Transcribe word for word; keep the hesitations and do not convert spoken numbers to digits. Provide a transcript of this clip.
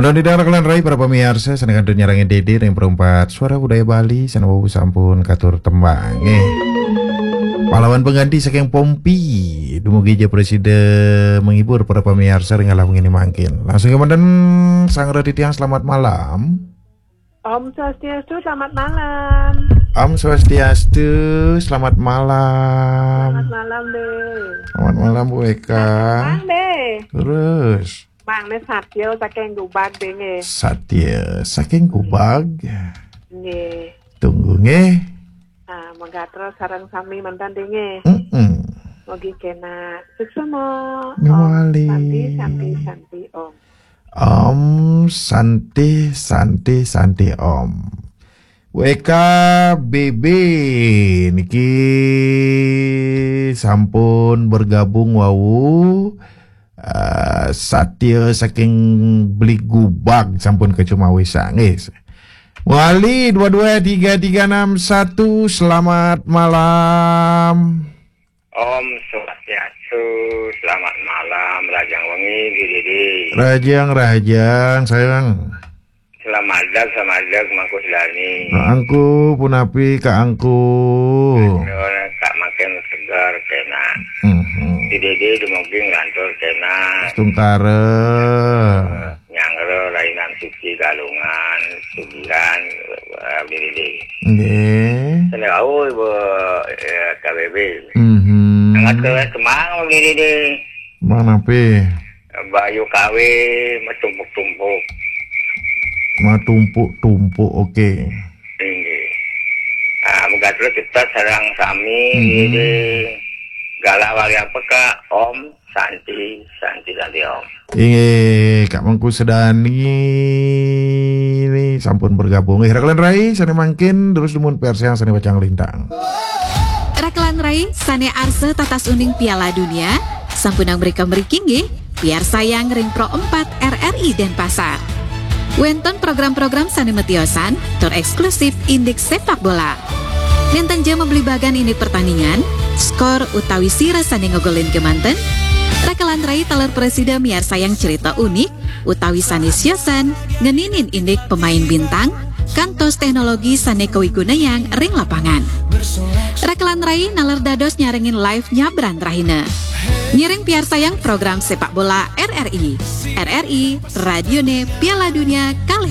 Anu didang rakelan rai para pamiarsa, sané kantun nyarengin Dédé ring Perempat Suara Budaya Bali, sané wau sampun katur tembang, eh. Pahlawan pengganti saking Pompi, dumugi ja prasida menghibur para pamiarsa ring alah wenginé mangkin. Langsung kémanten, Sang Raditya, selamat malam. Om Swastiastu, selamat malam. Om Swastiastu, selamat malam. Selamat malam, Dé. Selamat malam, Bu Eka. Mang, Dé. Terus. Mang, né Satya saking Gubag, Dé, nggih. Satya saking Gubag. Nggih. Tunggu, nggih. Ah, mangga terus sareng sami manten, Dé, nggih. Mm-mm. Mugi kénak suksma. Om Mawali. Santi, Santi, Santi, Om. Om Santi, Santi, Santi, Om. W K B B niki sampun bergabung wau, eh, Satya saking Bligubag sampun kacumawisang, nggih. Wali dua dua tiga tiga enam satu, selamat malam. Om Swastiastu, selamat malam, rahajeng wengi, Dédé. Rahajeng, rahajeng, sayang. Selamat dag, selamat dag, Mangku Sedani. Nah, Angku, punapi Kak Angku? Kak makin segar, kénak. Mhm. Dédé dumugi nglantur, kénak. Tungkara. Nyanggra Rainan Suci Galungan, Sugihan, eh, Dédé. Nggih. Sendiri, Bu, eh, K B B. Mhm. Sangat ke Semang, Dédé. Punapi? Bayu Kawe, matumpuk-tumpuk. Matumpuk-tumpuk, oke. Inggih. Ah, mugi terus kita sareng sami, mhm, Dédé. Galah wali apa, Kak? Om Santi, Santi, Santi, Om. Inggih, Kak Mangku Sedani ini sampun bergabung. Nggih, rakelan rai, sané mangkin, terus dumun persiang sané pacang lintang. Rakelan rai, sané arsa tatas uning Piala Dunia, sampunang mrika mriki nggih, piarsayang ring Pro empat R R I Denpasar. Wénten program-program sané matiosan, tur éksklusif indik sépak bola. Nénten ja mablibagan indik pertandingan, skor utawi sira sané ngogolin kémanten, rakelan rai taler prasida miarsayang cerita unik utawi sané siosan ngeninin indik pemain bintang, kantos teknologi sané kawigunayang ring lapangan. Rakelan rai naler dados nyarengin live nyabran rahina. Ngiring piarsayang program sépak bola R R I. R R I, radioné Piala Dunia kalih